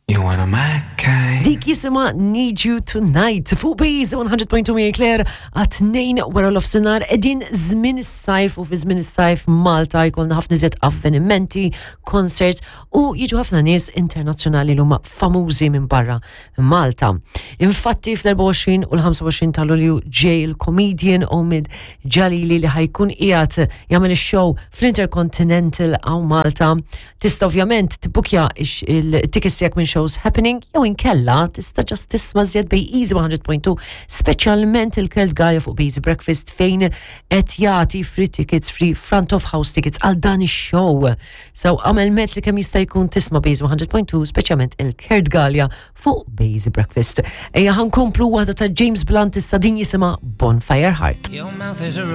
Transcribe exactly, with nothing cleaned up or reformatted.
You one of my kind. Dik jisimha Need You Tonight. Fuq Base one hundred point two Marie Claire għat-tnejn wara nofsinhar, qegħdin żmien is-sajf u fi żmien is-sajf Malta jkollna ħafna iżjed avvenimenti, concerts u jiġu ħafna nies internazzjonali li huma famużi minn barra Malta. Infatti fl-erbgħa u għoxrin u l-ħamsa u għoxrin ta' Lulju ġej il-comedian Omid Jalili li ħa jkun qiegħed jagħmel ix-show fl-Intercontinental hawn Malta. Tista' ovvjament tibbukja il-tickets tiegħek minn Shows Happening jew inkella tista' just tisma' żjed bej Easy one hundred point two, speċjalment il-Kurt Gaja fuq Busy Breakfast, fejn qed jagħti free tickets, free front of house tickets għal dan ix-show. So għamel mezz li kemm jista' jkun tisma' Base one hundred point two, speċjalment il-Kurt Galea fuq Busy Breakfast. Ejja ħa nkomplu waħda ta' James Blunt issa, din jisimha Bonfire Heart. Your mouth is a